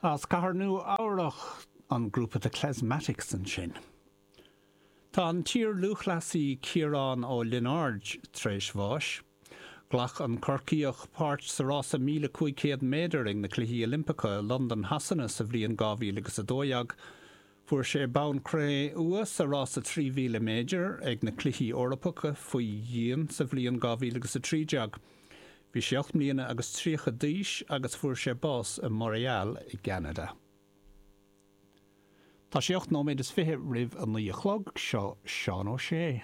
As Cathair Nua Eabhrach, an grúpa The Klezmatics ansin. Tá an t-iar-lúthchleasaí Ciarán Ó Lionáird tar éis bháis. Ghlac an Corcaíoch páirt sa rása 1,500 méadar ag na Cluichí Oilimpeacha i Londain Shasana sa bhliain 2012. Fuair sé bonn cré-umha sa rása 3,000 méadar ag na Cluichí Eorpacha faoi dhíon sa bhliain 2013. Bhí sé 8 mbliana agus 30 d'aois agus fuair sé bás i Montréal i gCeanada. Tá sé 8 nóiméad is 20 roimh a 9 a chlog, seo Seán Ó Sé.